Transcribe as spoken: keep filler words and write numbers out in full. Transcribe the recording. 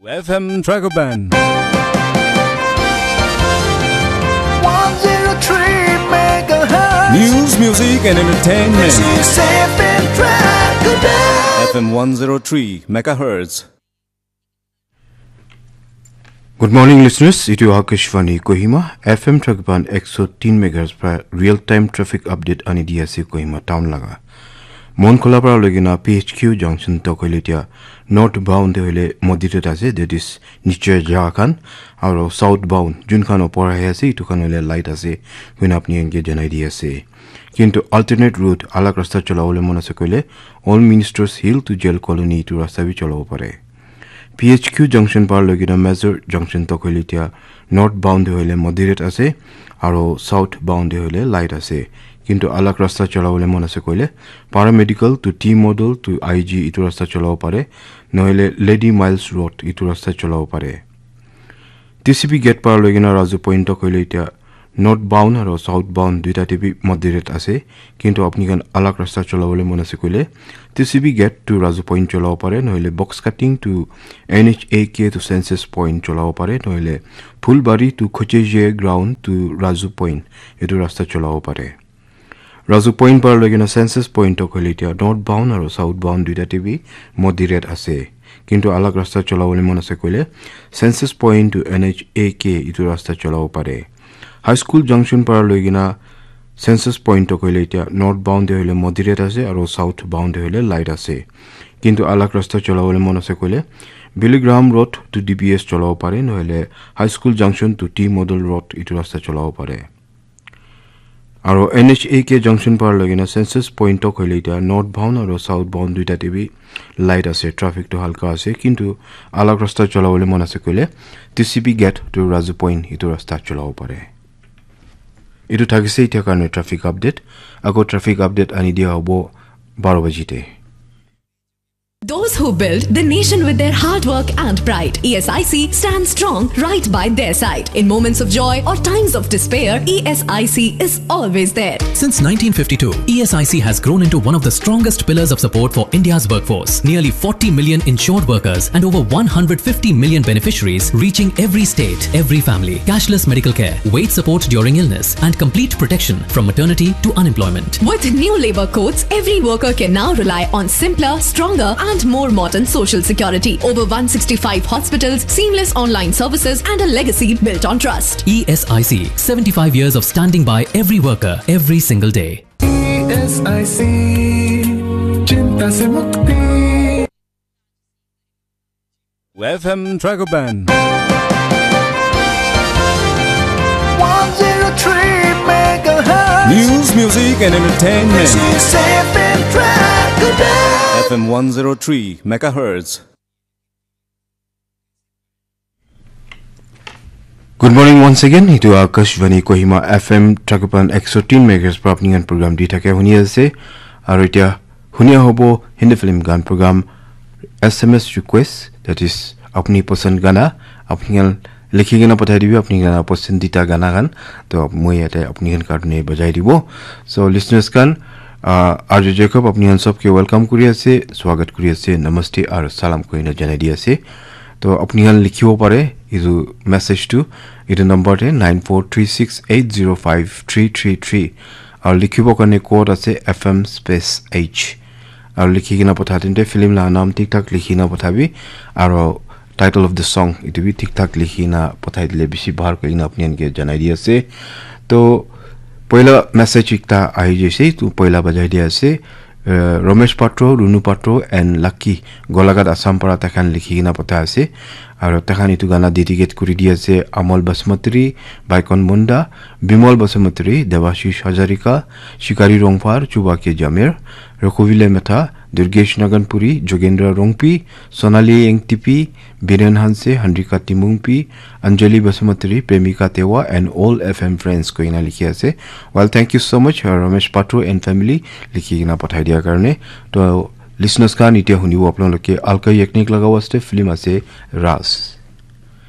F M Dragoban. one zero three megahertz. News, music, and entertainment. This is F M Dragoban. F M one zero three megahertz. Good morning, listeners. Itu Akashvani Kohima, F M Dragoban ekso tin megahertz pra real time traffic update ani di ase Kohima town laga. Monkhola pra loigena P H Q junction tok hoile tia northbound te hoile moderate ase, that is niche jaga khan, aro southbound jun khan opor ahi ase itu khan hoile light ase koina apni khan ke janai di ase. Kintu alternate route alag rasta cholabole mon ase koile Old Ministers Hill to Jail Colony itu rasta bi cholabo pare. P H Q junction par loigena Major junction tok hoile tia northbound te hoile moderate ase aro southbound te hoile light ase. Kintu alag rasta cholabole mon ase koile paramedical to T model to I G itu rasta cholabo pare, nohole Lady Miles Road itu rasta cholabo pare. T C B gate par loigena Raju Point tok hoile tia northbound aro southbound duita te bi moderate ase, kintu apni khan alag rasta cholabole mon ase koile T C B gate to Raju Point cholabo pare, nohole box cutting to N H A K to Census Point cholabo pare, nohole Phulbari to Khocheje ground to Raju Point itu rasta cholabo pare. Raju Point par loigena Census Point tok hoile tia northbound aro southbound duita te bi moderate ase, kintu alag rasta cholabole mon ase koile Census Point to N H A K itu rasta cholabo pare. High School junction par loigena Census Point tok hoile tia northbound te hoile moderate ase aro southbound te hoile light ase, kintu alag rasta cholabole mon ase koile Billy Graham Road to D B S cholabo pare, nohole High School junction to T Model Road itu rasta cholabo pare. Aro N H A K junction par loigena Census Point tok hoile tia northbound aro southbound duita te bi light ase, traffic to halka ase, kintu alag rasta cholabole mon ase koile T C B gate to Raju Point itu rasta cholabo pare. Itu thakise etiya karne traffic update. Ako traffic update ani dia hobo baro baji te. Those who build the nation with their hard work and pride, E S I C stands strong right by their side. In moments of joy or times of despair, E S I C is always there. Since nineteen fifty-two, E S I C has grown into one of the strongest pillars of support for India's workforce. Nearly forty million insured workers and over one hundred fifty million beneficiaries, reaching every state, every family. Cashless medical care, wage support during illness, and complete protection from maternity to unemployment. With new labor codes, every worker can now rely on simpler, stronger, and more modern social security. Over one sixty-five hospitals, seamless online services, and a legacy built on trust. E S I C, seventy-five years of standing by every worker, every single day. E S I C, chinta se mukti. F M Dragoban. one zero three megahertz. News, music, and entertainment. This is F M Dragoban. F M one zero three megahertz. Good morning once again. Itu Akashvani Kohima F M Dragoban ekso tin megahertz pra apni khan program di thake huni ase. Aru etiya huni hobo Hindi film gan program S M S request, that is apni pasand gana, apni khan likhi kena pathai dibi apni khan pasandita gana khan, to moi yate apni khan karne bajai dibo. So listeners khan, uh, Arju Jacob apni khan sobke welcome kuri ase, swagat kuri ase, namaste aru salam koina janai di ase. To apni khan likhibo pare etu message tu etu number te nine four three six eight zero five three three three, aru likhibo karne code ase F M space H, aru likhi kena patha tente film la naam thik thak likhi na pathabi, aru title of the song etu bi thik thak likhi na pathai dile bishi bhal koi kena apni khan ke janai di ase. To poila message ekta ahi jaise, to poila bajai di ase. Uh, Ramesh Patro, Runu Patro and Lucky Golaghat Assam para takhan likhi kena patha ase. Aru takhan etu gana dedicate kuri di ase Amal Basmatri, Baikon Munda, Bimal Basmatri, Debashish Hazarika, Shikari Rongphar, Chubake Jamir, Rokovile Metha, Durgesh Naganpuri, Jogendra Rongpi, Sonali Engtipi, Biren Hanse, Handrika Timungpi, Anjali Basmatri, Premika Tewa and all F M friends koina likhi ase. Well, thank you so much, uh, Ramesh Patro and family likhi kena pathai dia karne. To listeners khan etia hunibo apnaloke Alka Yagnik laga waste film ase Ras.